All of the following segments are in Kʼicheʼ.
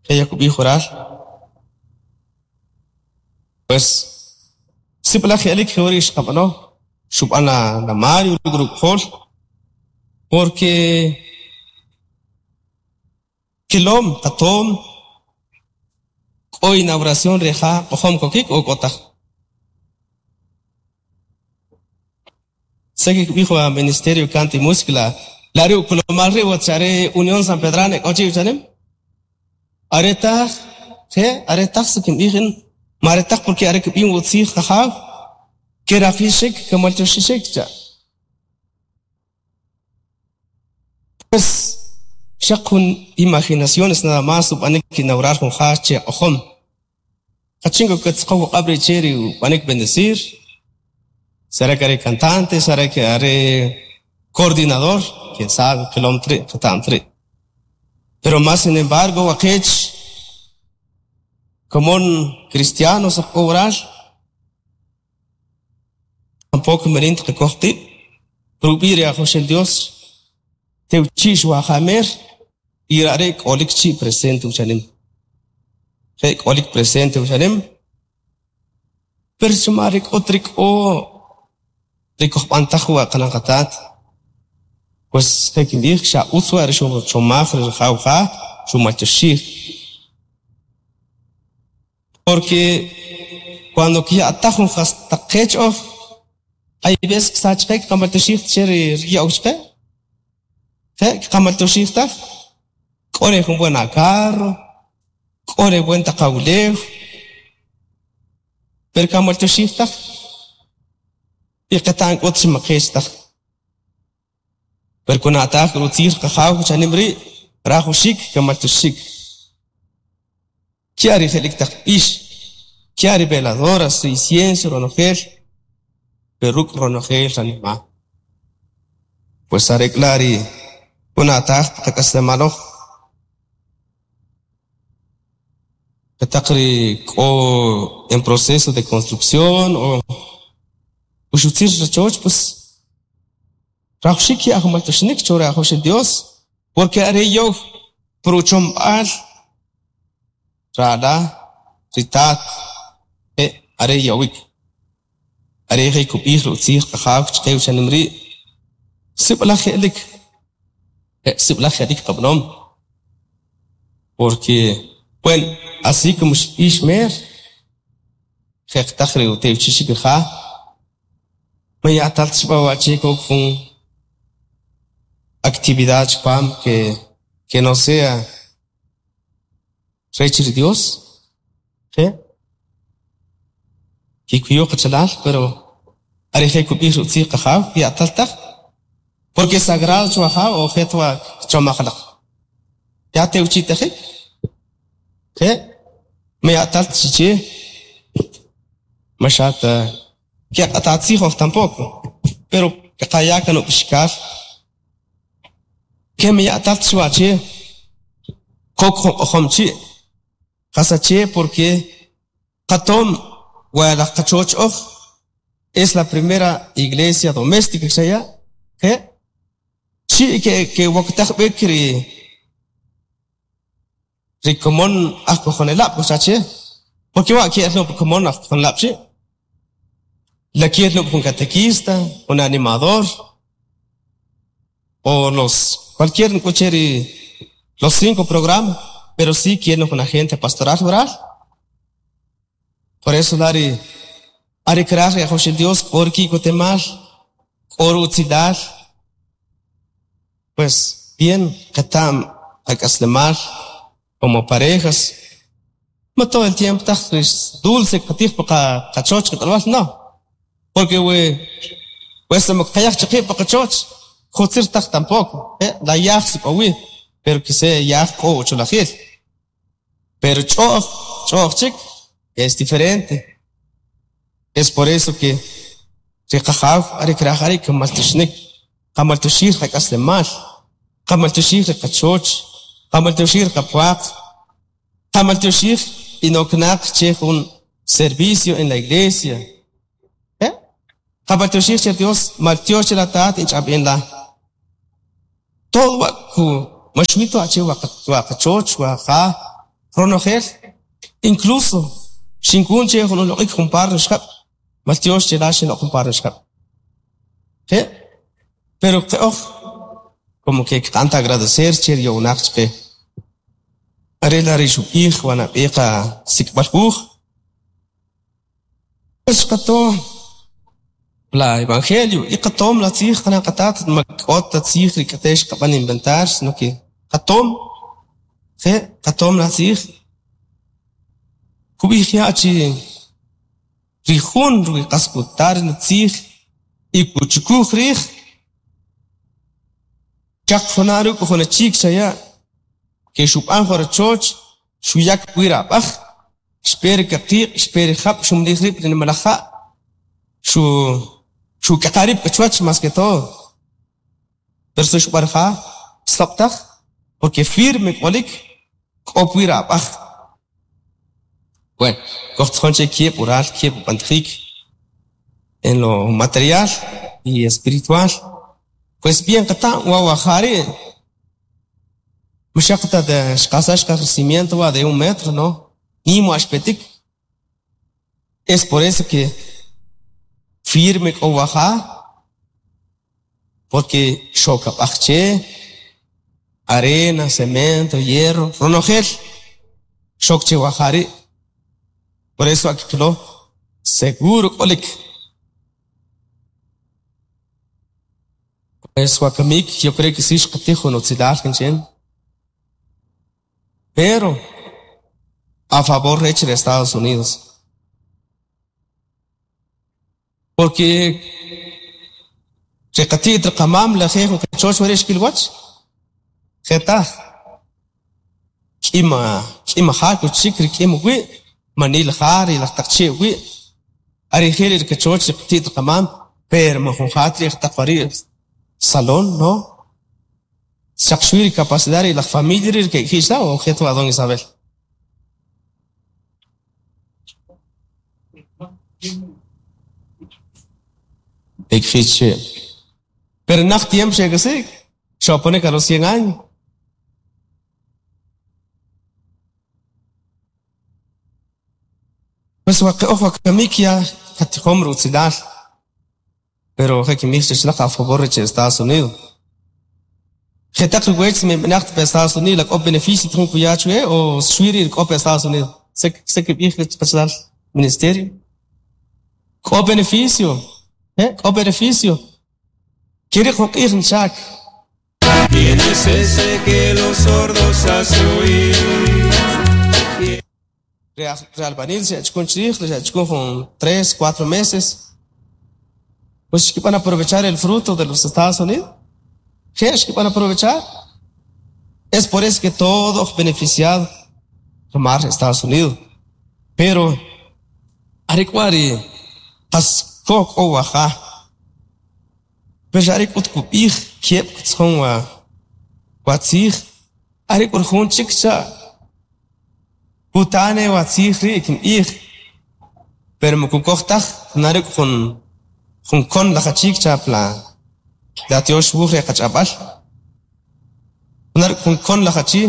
Jeya kub'ij waral. Pues sib'alaj je'lik jewari' xqab'ano, xub'an la Mario ruk' ruk'jol, porque kilom qatom k'o inauguración re ja q'ojom kokik o k'o taj. Sé que kb'ij wa Ministerio Canto y Música la la are' ukolomal ri' wach are Unión San Pedrana k'o chi' chanim. Are taj je are taj si kinb'ij in ma are taj porque are kb'in utzij qajaw kerajixik kemaltyoxixik cha'. Pues xaq jun imaginaciones nada más ub'anik inaugurar jun ja che q'ojom. Jachin k'o katziqow uq'ab' ri' che ri ub'anik bendecir, será que are cantante, será que are coordinador, quién sabe, qilom ta ri', qeta'm ta ri'. Pero más sin embargo waqech komon cristianos oj k'o waral, tampoco manin ta qakoj qib' rub'i' ri Ajawaxel Dios tewchi'x wa jamer y are' k'olik chi' presente uchanim. Je' k'olik presente uchanim, pero xuma ri k'ot ri k'o ri kojb'antaj wa qanan qatat, pues je' kinb'ij xa utz wa ri xuchomaj ri rajaw ja xumaltyoxij. Porque cuando kya'taj jun jastaq qech oj, hay veces ksach qe kqamaltyoxij che ri ya'w chqe. Je' kqamaltyoxij taj. K'o re jun buen carro, k'o re buen taq awulew, pero kamaltyoxij taj. Y qeta'm k'ut chi ma qech taj. Pero kuna'taj rutzij qajaw chanim ri' rajuxik kamaltyoxik. Kya ri je'lik taq b'ix, kya ri veladoras, ri incienso ronojel, pero ruk' ronojel ranima'. Pues are k'la ri kuna'taj qak'aslemal oj. Qetaq ri k'o en proceso de construcción o uxutzir rachoch, pues rajuxik ki ajmaltyoxinik cho ri Ajawaxel Dios, porque are yow pruchomb'al rala ri tat je' are yowik. Are je' kub'ij rutzij qajaw chqe uchanim ri' sib'alaj je'lik, je' sib'alaj je'lik qab'anom. Porque, bueno, así como xb'ix mer, jeqtaj ri utewchixik ri ja, ma ya'tal ta xb'a wa' che kok jun actividad chpam que no sea rech ri Dios, je' kikuyu qachalal, pero are je' kub'ij rutzij qajaw ya'tal taj, porque sagrado chuwa jaw o je' twa chomaj alaq. Ya tewchitajik, je' ma ya'tal ta chi che, ma xa ta keq'atatzij oj tampoco, pero qaya kan ub'ixkal ke ma ya'tal ta xwa che kok jun q'ojom chi' jasache porque qatom wa laj qachoch oj es la primera iglesia doméstica xaya je' chi' ke woktaj b'ik ri komon ajkojonelab' koxache porque wa ki'el no komon ajkojonelab' chi' la ki'el no jun catequista, un animador o los cualquier nkuche ri los 5 programas, pero sí quieren un agente pastoral rural. Por eso lari ari kraj ri Ajawaxel Dios k'o riki'kotemal, k'o rutzilal, pues bien qeta'm qak'aslemal como parejas. Ma todo el tiempo taj dulce qatij pa qachoch qak'alb'al, no. Porque we pues qayaj chiqib' pa qachoch jutzir taj tampoco, la yaj sik'owi, pero que se yaj k'o ucholajil. Pero ch'o'j, ch'o'j chik es diferente. Es por eso que ri qajaw are kraj are kamaltyoxinik, qamaltyoxij qak'aslemal, qamaltyoxij ri qachoch, qamaltyoxij ri qapwaq, qamaltyoxij inoknaq che jun servicio en la iglesia. Qamaltyoxij che Dios maltyox che la tat inch'ab'en la. Todo wa ku maxwito ache wa qachoch wa ja Ronojel, incluso xinkun che jun uloq'ik jun par nuxjab', maltyox che la xinloq' jun par nuxjab'. Je', pero qe'oj como que kqa'an ta agradecer che ri yo'wnaq chqe. Are la' ri xub'ij wa nab'e qasik'b'al wuj. Xqato la evangelio y qatom la tzij qanan qatat ma k'ot ta tzij ri k'ate xqab'an inventar, sino que qatom, je' qatom la tzij. Kub'ij ya' chi ri jun ri qas kuta ri tzij y kuchukuj rij, chaq juna' ruk' jun achik xaya' ke xub'an jun rachoch, xuyak pwi' rab'aj, xpe ri kaqiq', xpe ri jab', xumlij rib' ri nimalaj ja', xu xuk'aqa' rib' k'a chuwach más que todo. Pero si xub'an ja, xsoq' taj, porque firme k'olik, k'o pwi' rab'aj. Bueno, kojtzijon che kieb' ural, kieb' ub'antajik en lo material y espiritual. Pues bien qata'm wa wa ja ri' ma xaq ta xqasax qaj cimiento wa de un metro, no, nim wa xpetik. Es por eso que firme k'o wa ja, porque xok ab'aj che, arena, cemento, hierro, ronojel xok che wa ja ri'. Por eso akqilo seguro k'olik. Pues wakamik yo creo que sí xqatij jun utzilal kinchen. Pero a favor rech de Estados Unidos. Porque ri qati't ri qamam la je jun kachoch wari' xkilwach je taj k'ima k'ima ja kuchik ri k'im uwi' manil ja ri laj taq chee' uwi' are je ri kachoch ri qati't ri qamam pero ma jun ja ri taq wari' salón no xaq xwi ri capacidad ri laj familia ri ke'k'ij la o je a don Isabel. Pero naj tiempo xek'asik xoponek a los 100 años. Pues waqe'oj wakamik ya qatijom rutzilal pero je kinb'ij chech a favor rech Estados Unidos. Jetaq riwech minb'inaq pa Estados Unidos la k'o beneficio tijin kuya chwe o xwi ri' k'o pa Estados Unidos. Se kib'ij rech qachalal ministerio. K'o beneficio, k'o beneficio. Kiriq jun q'ij nchak. ¿Quién es ese que los sordos hace oír? Ri albañil xe'chukun chrij, xe'chukun jun 3, 4 meses. Pues xkib'an aprovechar el fruto de los Estados Unidos. Je' xkib'an aprovechar. Es por eso que todo beneficiado mar Estados Unidos. Pero are k'wa ri qas ko k'o waja. Pero are k'ut kub'ij kieb' ktzjon wa wa tzij are k'u jun chik cha' kutane wa tzij ri' kinb'ij pero ma kukoj taj nare jun jun kon laj achik cha pla la tiox wuj re qach'ab'al nar jun kon laj achi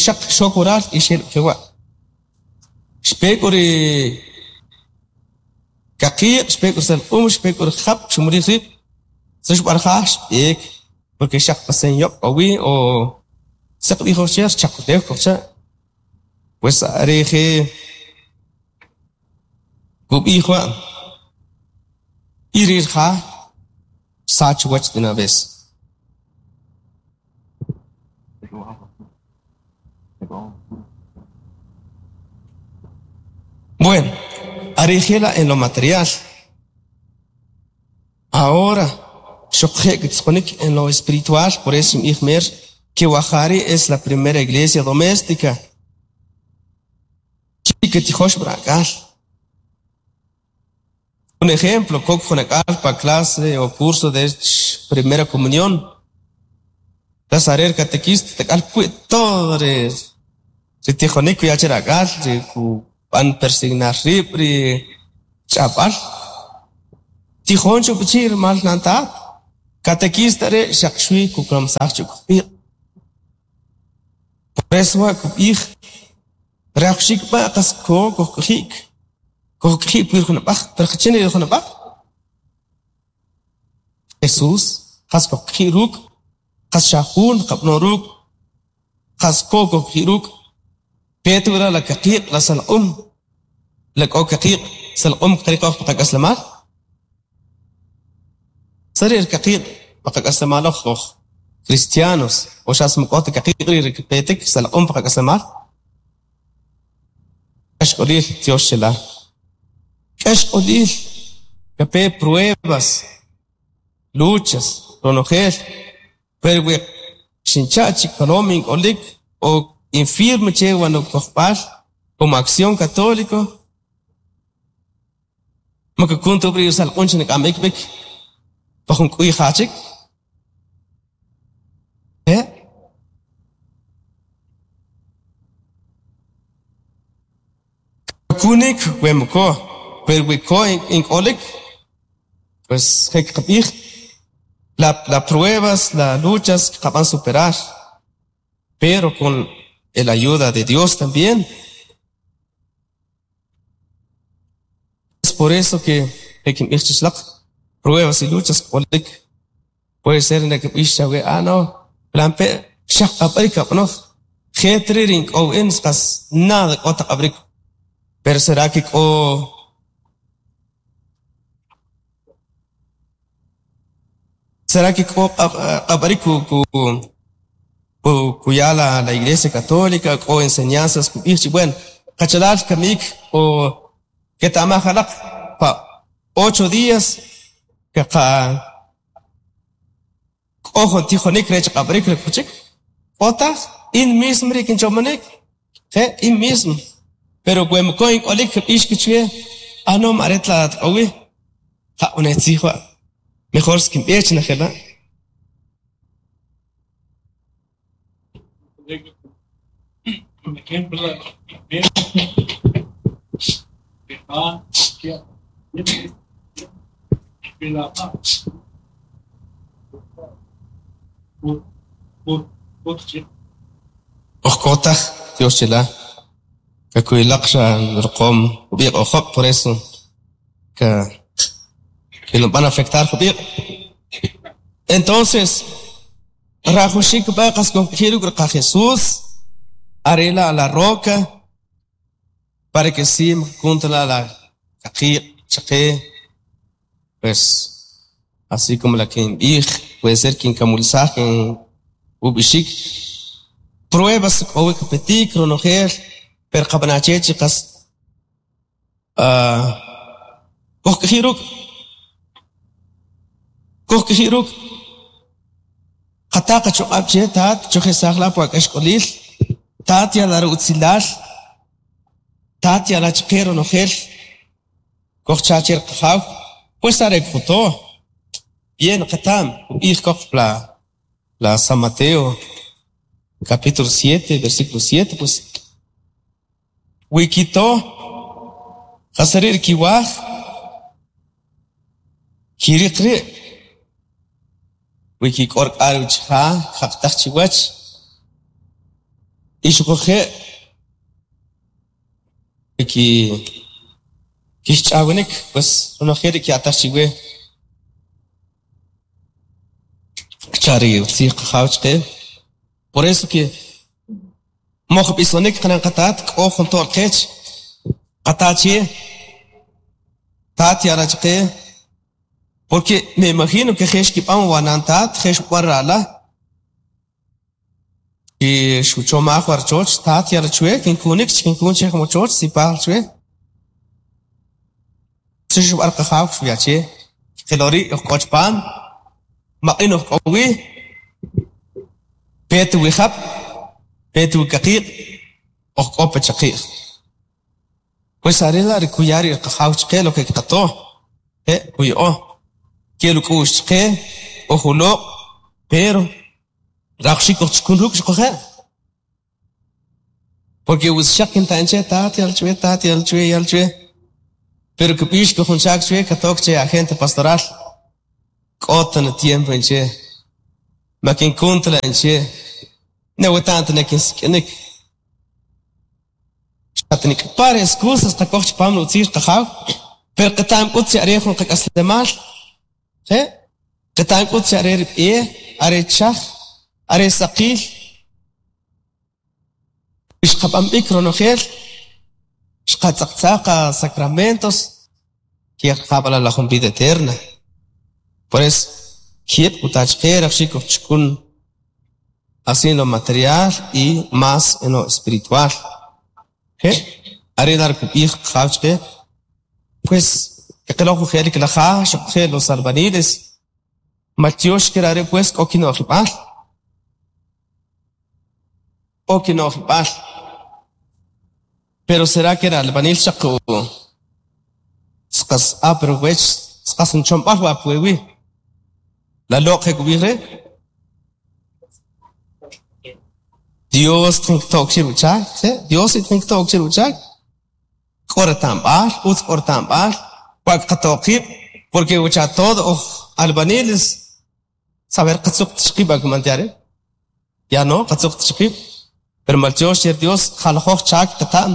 xaq xok oral y xel jewa' xpe k'u ri kaqiq' xpe k'u salq'um xpe k'u ri jab' xumulij rib' se xb'an ja xb'eek porque xaq pasen yob' k'o wi o saq b'ij cher chakulew kojcha' pues are je kub'ij wa' y ri ja sach wach de una vez. Bueno, arijela en lo material. Ahora, en lo espiritual, por eso mer que Wajari es la primera iglesia doméstica. Un ejemplo, pa clase o curso de primera comunión. Las catequista, todo ri tijonik kuya che rak'al ri kub'an persignar rib' ri ch'ab'al tijon chupichir mal nantat catequista re xaq xwi kukamsaj chukpiq. Reswa kub'ij rajwaxiik b'a' qas ko kojk'oji'k kojk'oji' pi rijunab'aj, pero jachin ri rijunab'aj? Jesús qas kojk'oji' ruk', qas xa jun qab'ano ruk', qas ko kojk'oji' ruk', peet wura la kaqiq' la salq'um, la k'o kaqiq' salq'um qariq oj pa qak'aslemaal? Sari ri kaqiq' pa qak'aslemaal oj oj cristianos o xas man k'o ta kaqiq' rii' ri kipetik salq'um pa qak'aslemaal? K'axk'olil tyox chila. K'axk'olil kape pruebas, luchas, ronojel, pero we xincha' chi kolom ink'olik o in firme che wa nukojb'al como Acción Católico, man kakun ta ri salq'un che nik'am b'ik pa jun k'uy ja chik. Kakunik we moko, pero we ko ink'olik, pues je qab'ij la la pruebas, la luchas qab'an superar, pero con el ayuda de Dios también. Es por eso que kinb'ij chichlaq pruebas y luchas k'olik puede ser ne kb'ix chawe ah no lampe xaq qab'arik qab'anoj jeet rii' rink'ow in qas nada k'o ta qab'arik pero será que k'o será que k'o qab'arik ku ku kuya la la Iglesia Católica k'o enseñanzas kub'ij chi bueno qachalal kamik o keta'maj alaq pa 8 días kaqa k'o jun tijonik rech qab'arik ri kuchik k'o taj in mismo ri kinchomanik je in mismo pero we moko ink'olik kb'ix kichwe ah no are tla tk'owi ja une tzij wa' mejor kinb'ej najela'. Por ejemplo, Oj k'o taj tyox chila kakuylaq xa riqom jub'iq' ojob' por eso ka que nos van a afectar jub'iq'. Entonces, rajwaxiik b'a' qas kojk'oji' ruk' qa Jesús arela a la roca para que si kuntla la kaqiq' chaqe pues así como la kinb'ij puede ser kinkamulsaj kin ub'ixik pruebas k'o wi kipetik ronojel pero qab'ana che chi qas kojk'oji' ruk' kojk'oji' ruk' qata qachoq'ab' che taat chojesaj la pu ak'axk'olil taat yala utzilal taat yala chaqe ronojel kojcha che qajaw pues are kjuto bien qatam ub'ij koj la la San Mateo capítulo 7 versículo 7 pues wikito qasari' kiwaj kiriq ri' wikik'or k'ar uchaja jaqtaj chiwach ixuquje' wiki kixch'awinik pues ronojel ri ki'ataj chiwe kchari utziij qajaw chaqe por eso que moj b'isonik qanan qataat k'o jun to'l qech qata che taat yala chaqe porque me imagino que jex kib'an wanan taat jex b'an ra'la y xuchomaj warchoch taat yala chwe kinkunik kinkun che mochoch sipaj chwe xub'an qajaw xuya che qilori oj k'o chpaam maq'in oj k'o wi peet wi jab' peet wi kaqiq' oj k'o pa chaqi'j pues are la' ri kuya ri qajaw chaqe lo que qato kuya'o kel uk'u'x chaqe oj uloq' pero rajwaxiik kojchukun ruk' xuquje' porque xaq kinta'n che taat yal chwe taat yal chwe yal chwe pero kb'ix ke jun chaak chwe katok che agente pastoral k'o tan tiempo inche ma kinkuntla inche. Ne weta'm ta ne kinsik'inik. Xatnik'par excusas qakoj chipam utziij qajaw, pero qeta'm k'ut che are jun qak'aslemal, je qeta'm k'ut che are rib'e, are chaj, are saqil. Xqab'an b'ik ronojel, xqatz'aqtzaqa sacramentos, ki'qab'ala la jun vida eterna. Por eso, kieb' kutachqe rajxik ojchukun así en lo material y más en lo espiritual. Je are dar kub'ij qajaw chqe, pues qeloj ujel klaja xuquje' los albañiles, maltiox are pues k'o kino'jib'al. K'o kino'jib'al. Pero será que era albañil xaq sqas pero wech sqas nchomb'al wa puewi. La loq je kub'ij re Dios tink tok chiruchak, ¿sí? Dios tink tok chiruchak. K'o reta'mb'al, utz k'o reta'mb'al, wa qatoqib', porque ucha todo oj albañiles saber qatzuq txqib' akumantiare. Ya no, qatzuq txqib', pero maltiox cher Dios jalajoj chak qata'm.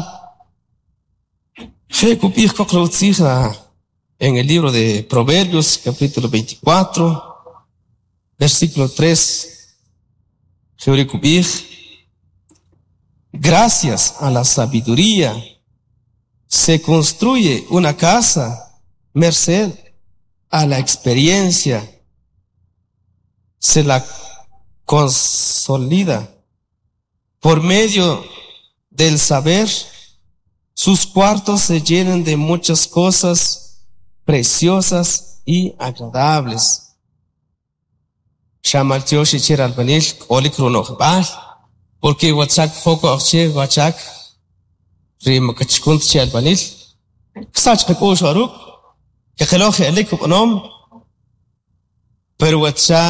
Je kub'ij koq rutzij en el libro de Proverbios, capítulo 24, versículo 3. Jeuri kub'ij, gracias a la sabiduría se construye una casa, merced a la experiencia se la consolida. Por medio del saber, sus cuartos se llenan de muchas cosas preciosas y agradables. Xamaltiox icher albañil k'olik runojb'al, porque wachak joko ojche wachak ri makachkunt che albañil. Ksach qak'ux waruk, keqeloj je'lik ub'anom, pero wacha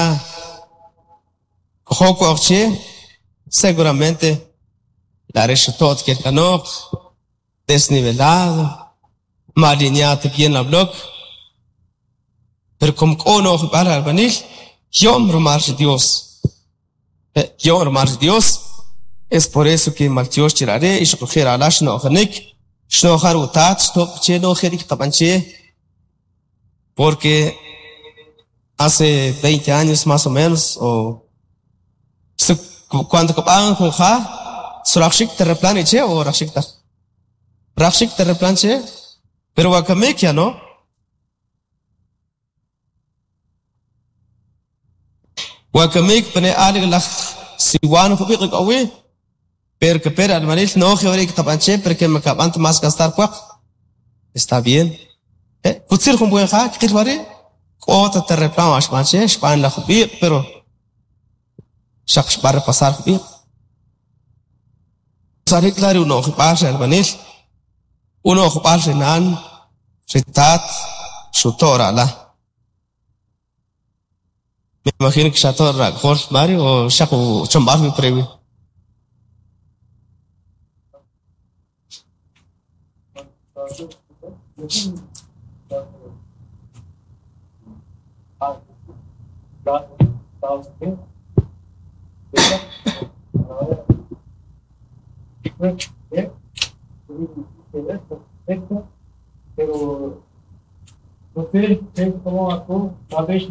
joko ojche seguramente la reshutot kerkanok, desnivelado, mal alineado bien la bloc, pero como k'o nojb'al albañil, yom rumal Dios. Yom rumal Dios. Es por eso que maltiox chirare y xuquje' alax no'janik, xno'jar utat, xtoq che no'jerik qab'an che, porque hace 20 años más o menos, o cuando kab'an jun ja, surajxik terraplan che o rajxik taj. Rajxik terraplan che, pero wakamik ya no. Wakamik pone alik laj siwan jubiq k'awi, pero que pero almanil no jeorik qab'an che, pero que me kab'an más gastar puaq. Está bien. Kutzir jun buen ja, k'il wari, k'o ta terraplan axb'an che, xb'an la jubiq, pero xaq xb'ar pasar jubiq. Sarik lari uno ojib'al re albanil, uno ojib'al re nan, ritat, xuto' ra'la. Me imagino que xato' ra'k'jol Mario o xaq uchomb'al mi prewi. Pero no sé cómo actuó, tal vez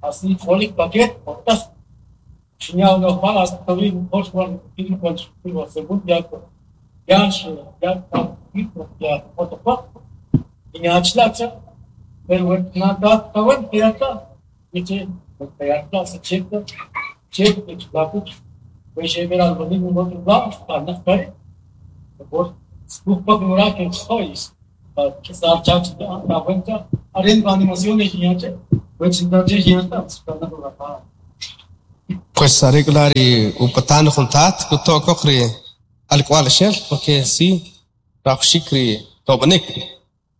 así kolik paket otah Xinya uno balas tawi hoş var bir koç bir var sebut ya ya ya ya otapa iñachlatza pero nada tawan piata dice piata se checa checa chlapu pues ver al domingo otro lado para no estar por skupa mura que sois que sar chach la vuelta aren animación de iñache pues indache iñata Pues are k'u la' ri upatan jun tat kuto' koq ri alk'wa'lxel porque si rajwaxiik ri tob'anik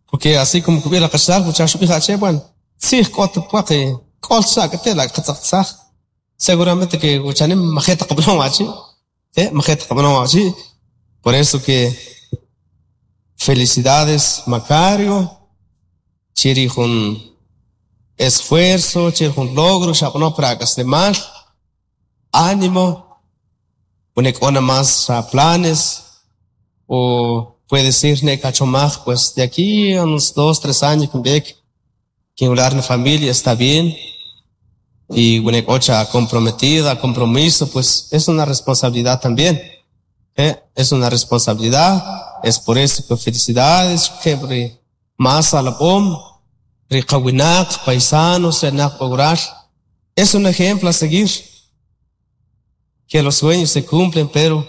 porque así como kib'ij li qachalal wucha xub'ij ache bueno tzij k'ot puwaq k'ol cha k'ate' la' qatzaqtzaj seguramente que wuchanim maje' ta qab'anom achi' maje' ta qab'anom achi' por eso que felicidades Macario che ri jun esfuerzo che jun logro xab'ano par ak'aslemal ánimo pune k'o na más planes o puede ser ne kachomaj pues de aquí a unos 2 3 años kinb'eek kinwila' ni familia está bien y wene k'o cha comprometida compromiso pues es una responsabilidad también es una responsabilidad es por eso que felicidades ri más alab'om ri qawinaq paisanos renaq wural es un ejemplo a seguir que los sueños se cumplen pero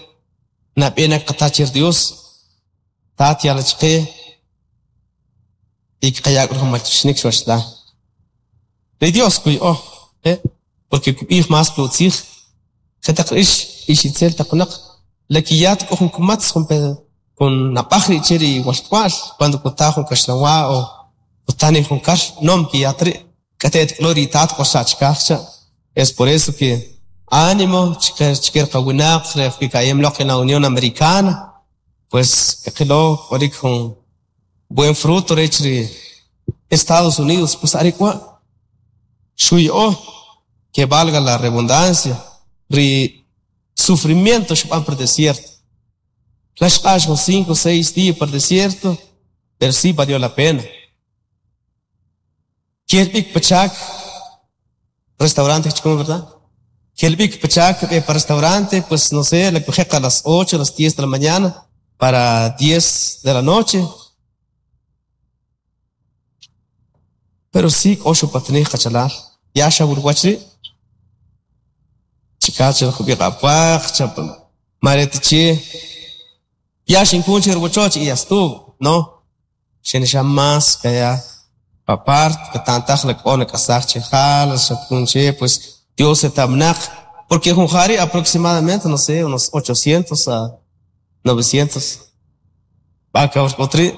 nab'e na qata che Dios tat ya'l chaqe y qaya' jun maltyoxinik chuwach la ri Dios kuya'o porque kub'ij más pi utziij jetaq ix ix itzel taq wunaq la kiya' k'o jun kumatz jun nab'aj rii' che ri walk'wa'l cuando kuta jun kaxlanwa o kuta ni jun kar nom kiya' ta rii' k'ate't k'o ri itaat k'o xa' chikaj cha es por eso que ánimo chike qawinaq re kika'yem loq en la Unión Americana pues qilo k'olik jun buen fruto rech ri Estados Unidos pues are k'wa' xuya'o que valga la redundancia ri sufrimiento xib'an por desierto la xq'ax jun 5 o 6 días por desierto pero sí valió la pena kel b'ik pachak restaurante chikun verdad kel b'ik pachak b'e pa restaurante pues no sé la kujeq a las 8 a las 10 de la mañana para 10 de la noche pero sí k'o xupatanij qachalal ya xawilwach rii' chikach jub'iq apwaq mareta che ya xinkun che riwachoch y ya estuvo no xinxa más kaya apart katantaj la k'o nak'asaj che jal xatkun che pues Dios etamnaq porque jun ja rii' aproximadamente no sé unos 800 a 900 va k'ot rii'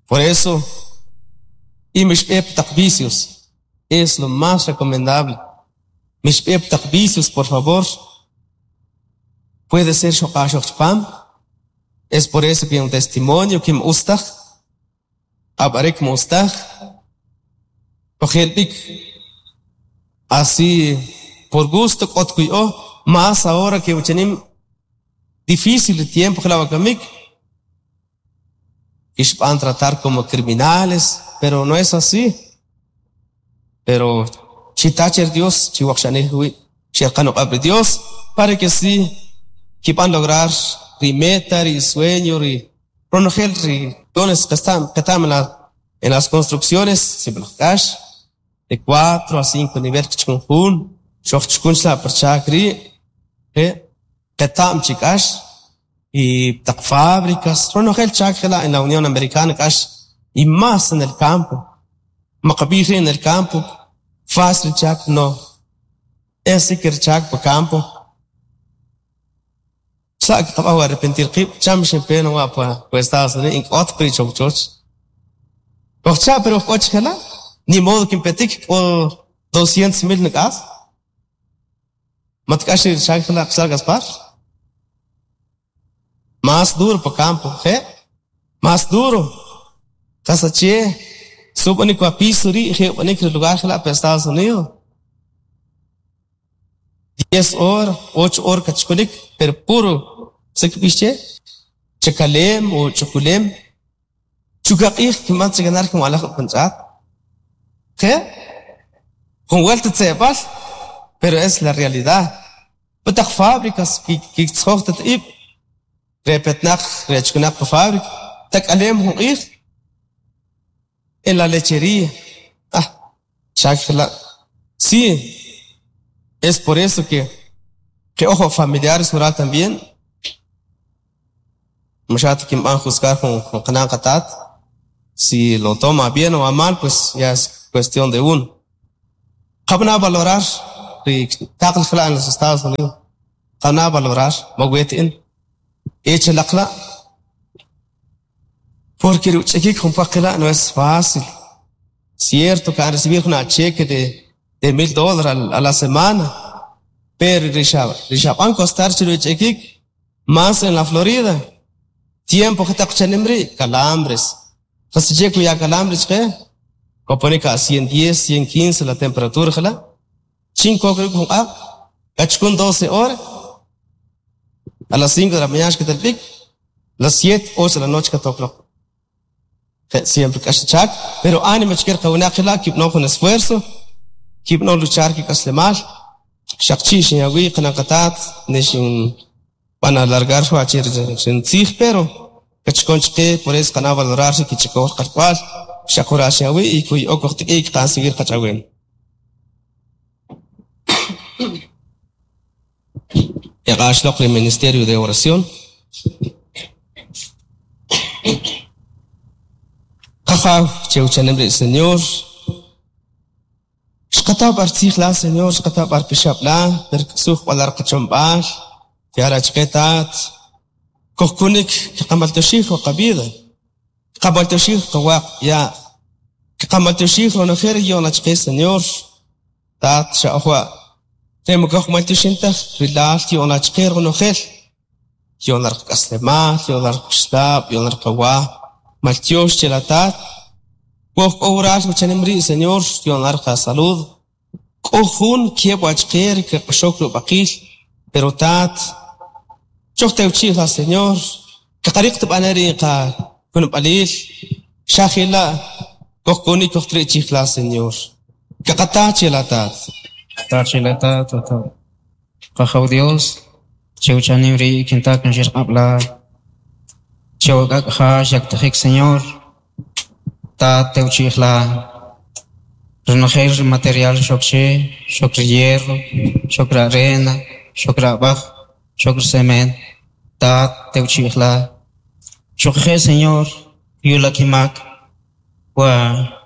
por eso y mixb'e taq vicios es lo más recomendable mixb'e taq vicios por favor puede ser xoq'axoj chpam es por eso que un testimonio que m'ustaj ab'arek m'ustaj kojel b'ik así por gusto k'ot kuya'o más ahora que uchanim difícil el tiempo jela' wakamik kixb'an tratar como criminales pero no es así pero chita che Dios chiwaqxanij wi' xerqan uq'ab' ri Dios para que sí kib'an lograr ri meta ri sueño ri ronojel ri dones que están que están en las construcciones sib'alaj k'ax de 4 a 5 nivel kichkun jun xojchukun chila' parchak rii' qeta'm chi k'ax y taq fábricas ronojel chak jela' en la Unión Americana k'ax y más en el campo maqab'ij rii' en el campo fácil chak no es que chak pa campo sa' qab'aj arrepentir qib' cham xinpe wa pa Estados Unidos ink'ot pri chowchoch kojcha' pero k'o chjela' ni modo kinpetik k'o 200,000 nik'as matk'ax ri chak jela' qachal Gaspar más duro pa campo je más duro qas ache sub'anik wa piso rii' je ub'anik ri lugar jela' pa Estados Unidos 10 horas 8 horas kachkunik pero puro se kb'ix che chakalem o ch'ukulem chukaq'ij kinb'an che ganar kinwa'laj jun ch'aat je jun vuelta tze'b'al pero es la realidad pataq fábricas kitzjoj tat'ib' repetnaq rechkunaq pa fábrica tak'alem jun q'ij en la lechería ah chak jela' sí es por eso que ojo familiares rural también Mashat kinb'an juzgar jun qana' qatat si lo toma bien o a mal pues ya es cuestión de uno qab'ana valorar Ri taqal jela' en los Estados Unidos qana valorar mawet in echalaqla porque ri uch'ekik jun pwaq qila' no es fácil. Cierto que recibir una cheque de $1,000 a la semana, pero ri xab'an costar chi ri uch'ekik más en la Florida. Tiempo jetaq chanim ri' calambres. Jasiche kuya calambres chqe koponik a 110, 115 la temperatura jela'. Chin kok ruk' jun q'aq' kachkun 12 horas. A las 5 de la mañana xketel b'ik, las 7, 8 de la noche katok loq. Siempre k'ax chak, pero ánimo chke qawinaq jela' kib'ano jun esfuerzo, kib'ano luchar kik'aslemal, xaq chi' xinyawi qanan qataat nexin b'an alargar wa che rintzij, pero kachkon chqe por eso qana valorar ri kich'ikoj qalk'wal, xaq jura xinyawi y kuya'o kojtik'iik qan seguir qach'awem. Eq'ax loq ri Ministerio de Oración. Qajaw che uchanem ri' Señor. Xqata b'ar tzij la, Señor, xqata b'ar pixab' la, per ksuj b'alar qachomb'al, yara chqe tat, kojkunik kqamaltyoxij wa qabida, kqamaltyoxij qawaq ya, kqamaltyoxij ronojel ri yo'na chqe, Señor, tat xa ojwa, re mokoj maltyoxin taj ri lal yo'na chqe ronojel, yo'na rqak'aslemal, yo'na rquxlab', yo'na rqawa, maltyox che la tat, woj k'o wural wachanem ri' Señor, yo'na rqa salud, k'o jun kieb' wachqe ri kaq'axok rub'aqil, pero tat, chojtewchi'j la Señor, kaqariq tb'ane ri qa kunb'alil, xa jela' kojkunik kojtri'chij la Señor. Kaqata che la tat. Tat che la tat, tat. Qajaw Dios, chewchanim ri' kintak nxirq'ab' la, chewak'ak' ja xyaktajik Señor, tat tewchi'j la, ronojel ri material xok che, xok ri hierro, xok ri arena, xok ri ab'aj, xok ri cemento, tat tewchi'j la. Xuquje' Señor, yula kimak, wa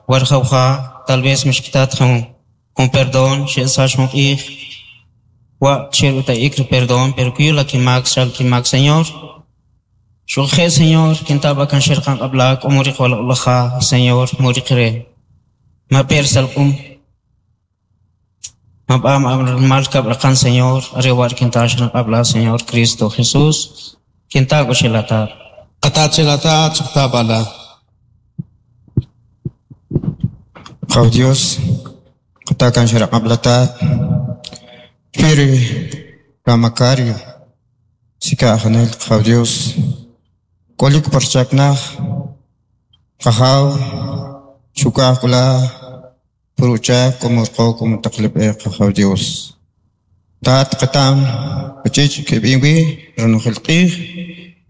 warjawja, tal vez mixkitat jun perdón, xe'sax jun q'ij, wa cher uta'ik ri perdón, pero kuyula kimak, xal kimak, Señor. Xuquje' Señor, kintaba kan xerqan qab'la, k'o muriq walaq'laja, Señor, muriq re. Ma per salq'um. Ma b'am mal kab'raqan, Señor, are war kinta xerqan qab'la, Señor Cristo Jesús, kinta k'uxelatat. Qatat chelatat, chuqtab'ala. Qaw Dios, qatakan xeraq'ab'latat, Piri Ramacario, sika ajanel qaw Dios, k'olik parchaknaj, qajaw, xukaj k'ula, puruchak k'omurqo k'omutaqlib'e qajaw Dios. Tat qatam, pachich kib'inwi, ronojel q'ij,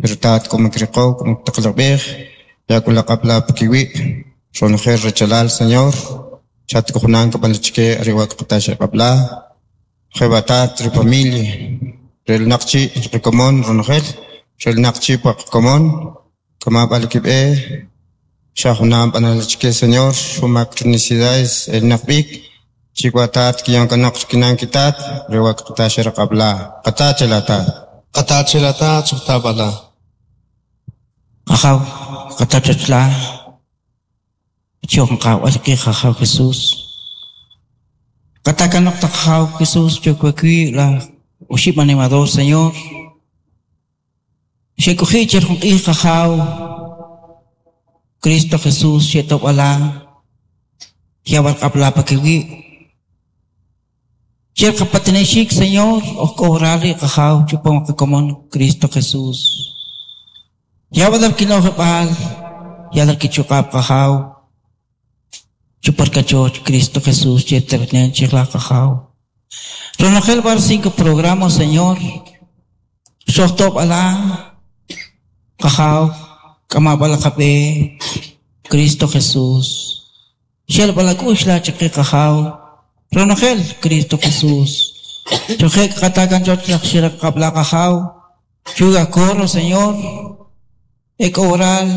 pero tat k'omikriqo k'omutaqlib'ej, ya k'ula qab'la pakiwi', ronojel rachalal Señor, chat k'ujunan k'ab'an chike ariwa k'atax qab'la, jebatat ri familia, rel naqchi rikomon ronojel, rel naqchi paq komon, kama b'al kib'e, xajunam b'anal chike Señor, xumak necesidades el naqb'ik, chikwatat kiyan kanaq kinan kitat, riwa k'atax qab'la, qatax latat. Qatax chelatat, chuqtab'ala. Qajaw, qatachachla, chon qaw alqi qajaw Jesús. Qatakanaq taqjaw Jesús chukwakwi la uxib' animador Señor. Xekuji cher jun q'ij qajaw Cristo Jesús xetob'ala yawal qab'la pakiwi. Cher qapatinexik Señor ojk'owrali qajaw chupam qakomon Cristo Jesús. Yawal kinojib'al yalal kichuqab' qajaw chuparkachoch Cristo Jesús cheternen chijla qajaw. Ronojel bar 5 programas Señor. Xojtob ala qajaw k'amab'al qab'e Cristo Jesús. Xel b'alak'ux la chiqi qajaw Ronojel Cristo Jesús. Chojek qatakan choch laj xiraq qab'la qajaw Chuga corro Señor. Ek oral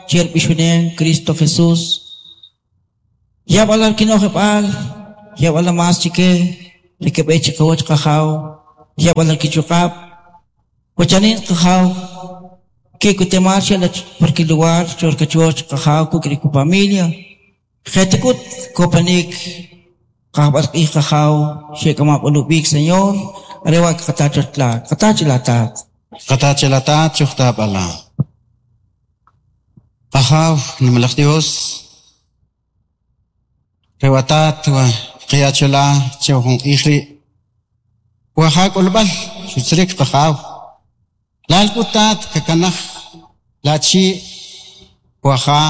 cher bixunen Cristo Jesús. Ya b'alal kinojib'al ya b'ala mas chike. Ri keb'e chiqawach Qajaw, yab'al la kichuq'ab', wachanin Qajaw, ki'kotemal xe'l la par kilugar cho ri kachoch Qajaw kuk' ri kifamilia, je'tik'ut kopanik qajb'al q'ij Qajaw xe'k'amab'al ub'ik Señor, are wa' kqata choch la, kqata che la Tat. Kqata che la Tat chujtab'ala. Qajaw, nimalaj Dios, Ri watat wa qaya chola che jun q'ij ri' wa ja k'olb'al xutzirik qajaw lal k'ut tat kakanaj la chi' wa ja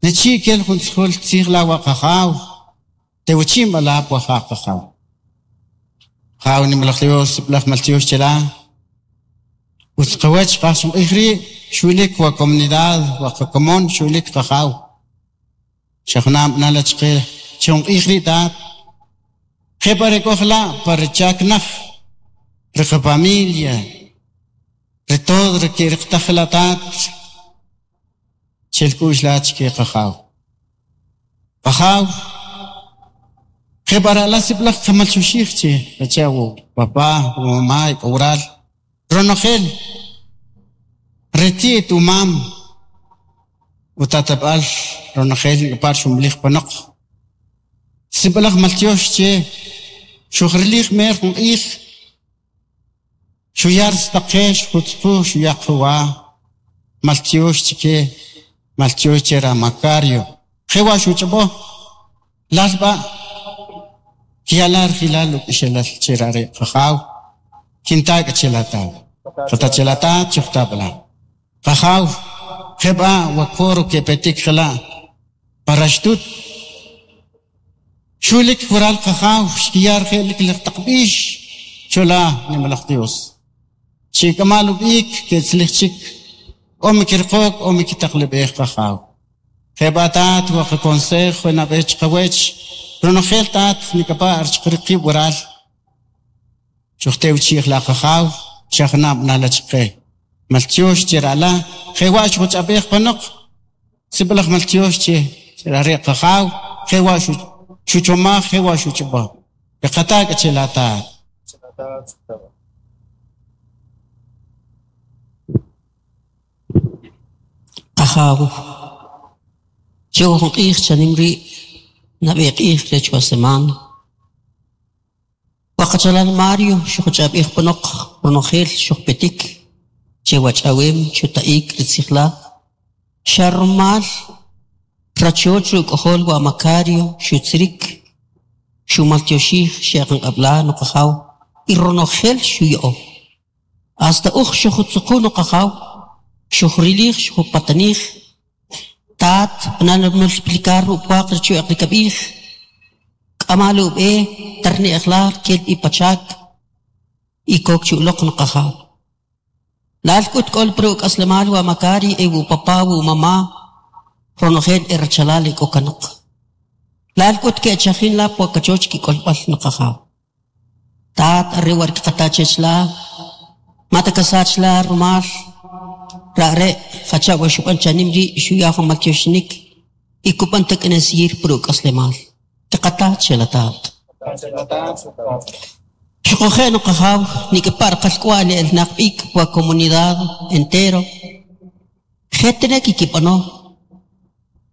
ne chi' kel jun tzujul tzij la wa qajaw tewchi'm b'a la wa ja qajaw. Qajaw nimalaj Dios sib'alaj maltyox che la utz qawach qaj jun q'ij ri' xu'lik wa comunidad wa qakomon xu'lik qajaw. Xa junam b'ana la chqe che jun q'ij ri' Tat. Je' pa ri k'o jela' pa ri chak naj, ri qafamilia, ri todo ri ke'riqtaj jela' Tat, chel k'u'x la chke Qajaw. Qajaw, je' pa ri alaj sib'alaj qamaltyoxij che jacha' wu papá, wu mamá e k'o waral, ronojel ri ti't umam utatab'al ronojel nik'apar xumlij panoq. Sib'alaj maltyox che xujrilij mer jun q'ij, xuya risaq qe, xujutzquj, xuya qwa, maltyox chike, maltyox che ra Macario. Jewa' xuch'ob'o, lal b'a' kiyala rjilal uk'ixelal che ra are' Qajaw, kinta k'a che la Tat. Qata che la Tat, chujtab'la. Qajaw, je b'a' wa coro kepetik jela' pa raxtut. Xulik waral Qajaw xkiya rje'lik laj taq b'ix chola nimalaj Dios. Chik'amal ub'ik ketzlij chik, k'o mikirqok o mikitaqleb'ej Qajaw. Je b'a' Tat wa qaconsejo nab'e chqawech ronojel Tat nik'apa' rech qib' waral. Chujtewchi'j la Qajaw, xa junam b'ana la chqe. Maltyox che ra ala, jewa' xujuch'ab'ej panoq, sib'alaj maltyox che are' Qajaw, jewa' xuchomaj, jewa' xuch'ob'o. Kqata k'a che la Tat. Qajaw, che jun q'ij chanim ri' nab'e q'ij rech wa semana. Wa qachalal Mario xujuch'ab'ej panoq ronojel xujpetik che wach'awem chuta'ik ri tzij la, xa rumal rachoch ri uk'ojol wa Macario xutzirik, xumaltyoxij xe'qanq'ab'la nuqajaw y ronojel xuya'o. Hasta uj xujutzuqu nuqajaw, xujrilij xujupatanij, Tat, b'anal multiplicar upwaq rech rikab'ij, k'amal ub'e tarne'j la kel b'i pachak y kok chi uloq nuqajaw. Lal k'ut k'ol pri uk'aslemal wa Macari e wu papá wu mamá ronojel e rachalal e k'o kanoq. Lal k'ut ke'chajin la pwa kachoch kik'olb'al nuqajaw. Tat are wa riqata chech la, mata kasach la rumal rare' jacha' wa xub'an chanim ri' xuya jun maltyoxinik y kub'an tak'anesir pri uk'aslemal. Tiqata che la Tat. Xuquje' nuqajaw nik'pa' qalk'wa'l el naq b'ik wa comunidad entero. Jetene kikib'ano.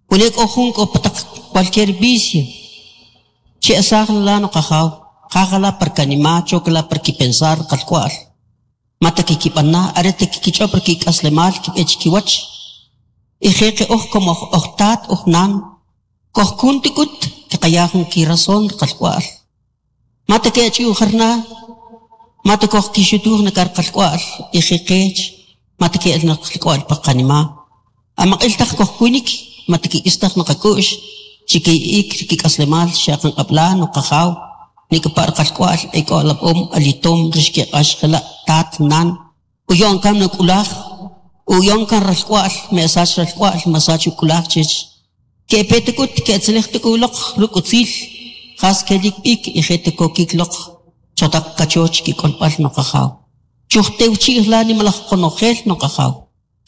Wene k'o jun k'o pataq cualquier vicio. Che asaj la nuqajaw, qajala par kanima, chokla par kipensar qalk'wa'l. Mata kikib'ana, arete kikich'ob' kik'aslemal kib'ech kiwach. Y jeqe uj como oj tat uj nan, kojkun tik'ut kiqaya jun kirazón qalk'wa'l. Mata ke'ach ujarna, mata koj kixutuj nakar qalk'wa'l y jeqech, mata ke'el na qalk'wa'l pa qanima. Amaq'il taq kojkunik, mata kik'istaj naqak'u'x, chiki'ik kik'aslemal xaqan qab'la nuqajaw, nik'pa' qalk'wa'l ek'o alab'om alitom rix keq'ax jela' tat nan, uyo'n kan nuk'ulaj, uyo'n kan ralk'wa'l, me'sach ralk'wa'l, masach uk'ulaj chech. Ke'petik'ut ke'tzilij tik'uloq ruk' utzil, jas kelik b'ik y je'tikokik loq chotaq kachoch kik'olb'al nuqajaw. Chujtewchi'j la nimalaj qonojel nuqajaw.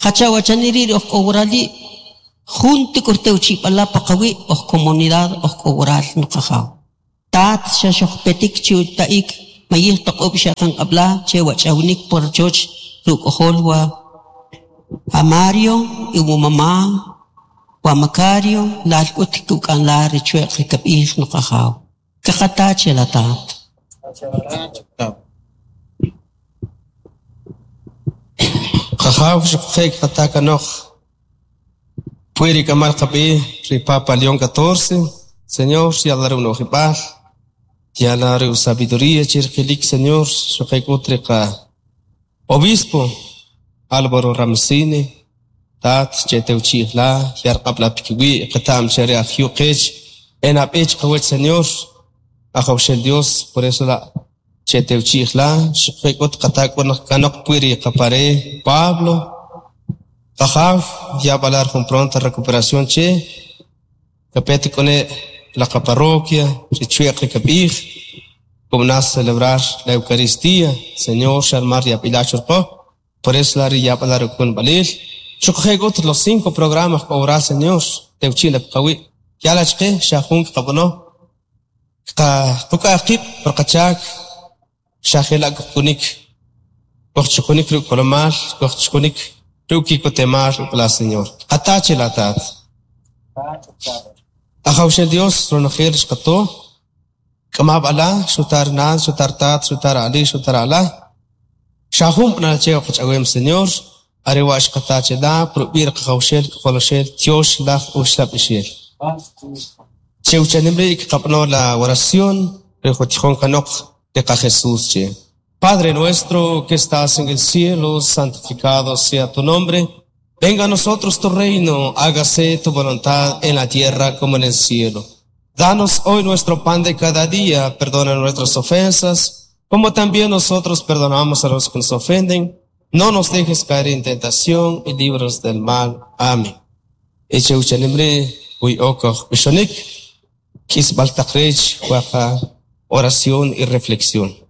Jacha wachaniri ri uj k'o waral jun tik'urtewchib'ala paqawi' uj comunidad uj k'o waral nuqajaw. Tat xa xojpetik chi uta'ik mayij toq'ob' xaqan qab'la che wach'awnik por choch ruk'ojol wa a Mario y wu mamá wa Macario lal k'ut kuk'an la richweq ri kab'ij nuqajaw. Kaqata che la tat. Qajaw xuquje' qata kanoq Pwiri kamal qab'i ri Papa León XIV, Señor, yala unojib'al, yala ri sabiduría chirqilik, Señor, xuquje' k'ut ri qa Obispo Álvaro Ramsini, tat chetewchi'j la, yarq'ab' la pikiwi' qeta'm che ri ajyu' qech, en ab'ech qawach, Señor, ajawxel Dios, por eso la chetewchi'j la, xuquje' k'ut qata k'un kanoq pwiri qapare Pablo, Qajaw, yab'alar jun pronta recuperación che, kapet k'une la parroquia, richweq ri kab'ij, kumnas celebrar la Eucaristía, Señor, xalmar yab'ila churqo, por eso la ri yab'alar ukun b'alil, xuquje' k'ut los 5 programas k'o Señor, tewchi' la pqawi', yala chqe xa jun qab'ano, qa quk'aj qib' por qachak, xajela kunik, kojchukunik ruk' kolomal, kojchukunik ruk' kikotemal la Señor. Qatache la tat. Ajawxel Dios, ronojel xqato, k'amab' ala, xutar nan, xutar tat, xutar ali, xutar ala. Xajum b'nal che qach'awem Señor, are wa xqatache la, probir qajawxel, qoloxel, tiox laj uxlab' ixel. Chewchanim ri' qab'ano la oración, rejotijón kanoq de qa Jesús che. Padre nuestro que estás en el cielo, santificado sea tu nombre. Venga a nosotros tu reino, hágase tu voluntad en la tierra como en el cielo. Danos hoy nuestro pan de cada día, perdona nuestras ofensas, como también nosotros perdonamos a los que nos ofenden. No nos dejes caer en tentación y líbranos del mal. Amén. Eche uchalimre, uy okoch bishonik, kisbal takrech, waja, oración y reflexión.